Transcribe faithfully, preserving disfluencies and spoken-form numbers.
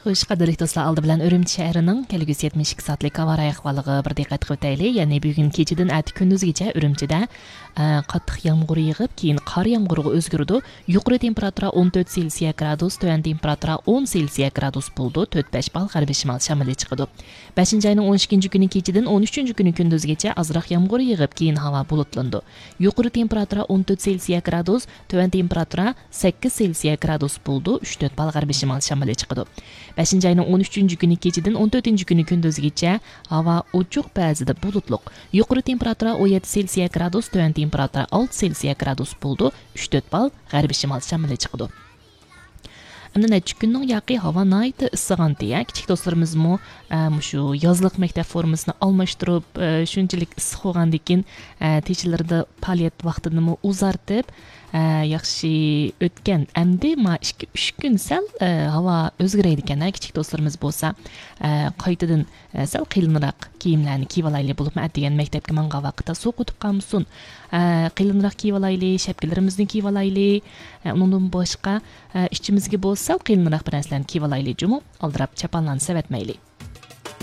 خوش، قەدىرلىك دوستلار، ئالدى بىلەن ئۈرۈمچى شەھىرىنىڭ كەلگۈسى يەتمىش ئىككى سائەتلىك ھاۋا رايى ئەھۋالىغا بىر دىققەت قىلىۋېتەيلى. يەنى بۈگۈن كېچىدىن ئەتە كۈندۈزگىچە ئۈرۈمچىدە، ئە، قاتتىق يامغۇر يېغىپ، كېيىن قار يامغۇرغا ئۆزگىرىدۇ. يۇقىرى تېمپېراتۇرا ئون تۆت سېلسىيە گرادۇس، تۆۋەن تېمپېراتۇرا ئون سېلسىيە گرادۇس بولىدۇ. تۆت بەش بال غەربىي شىمال شامىلى چىقىدۇ. بەشىنچى ئاينىڭ ئون ئىككىنچى كۈنى كېچىدىن ئون ئۈچىنچى كۈنى كۈندۈزگىچە ئازراق يامغۇر يېغىپ، كېيىن ھاۋا بۇلۇتلىنىدۇ. يۇقىرى تېمپېراتۇرا ئون تۆت سېلسىيە گرادۇس، تۆۋەن تېمپېراتۇرا سەككىز سېلسىيە گرادۇس بولىدۇ، ئۈچ تۆت بال غەربىي شىمال شامىلى چىقىدۇ. بەشىنچى ئاينىڭ ئون ئۈچىنچى كۈنى كېچىدىن ئون تۆتىنچى كۈنى كۈندۈزگىچە ھاۋا ئوچۇق، بەزىدە بۇلۇتلۇق. يۇقىرى تېمپېراتۇرا ئون يەتتە سېلسىيە گرادۇس، تۆۋەن تېمپېراتۇرا ئالتە سېلسىيە گرادۇس بولىدۇ، ئۈچ تۆت بال غەربىي شىمال شامىلى چىقىدۇ. ئەمدى نەچچە كۈننىڭ ياقى ھاۋا ناھايىتى ئىسسىغانتى، ھە؟ كىچىك دوستلىرىمىزمۇ، ئە، مۇشۇ يازلىق مەكتەپ فورمىسىنى ئالماشتۇرۇپ، ئە، شۇنچىلىك ئىسسىق بولغاندىكىن، ئە، تېشىلىرىدا پائالىيەت ۋاقتىنىمۇ ئۇزارتىپ، ئە، ياخشى ئۆتكەن. ئەمدى ما ئىككى، ئۈچ كۈن سەل، ئە، ھاۋا ئۆزگىرەيدىكەن، ھە؟ كىچىك دوستلىرىمىز بولسا، ئە، قايتىدىن، ئە، سەل قېلىنراق كىيىملەرنى كىيىۋالايلى، بولۇپمۇ ئەتىگەن مەكتەپكە ماڭغان ۋاقىتتا سوغۇق ئۆتۈپ قالمىسۇن. ئە، قېلىنراق كىيىۋالايلى، شەپكىلىرىمىزنى كىيىۋالايلى. ئە، ئۇنىڭدىن باشقا، ئە، ئىچىمىزگە بولسا سەل قېلىنراق بىر نەرسىلەرنى كىيىۋالايلى جۇمۇ، ئالدىراپ چاپانلارنى سېۋەتمەيلى.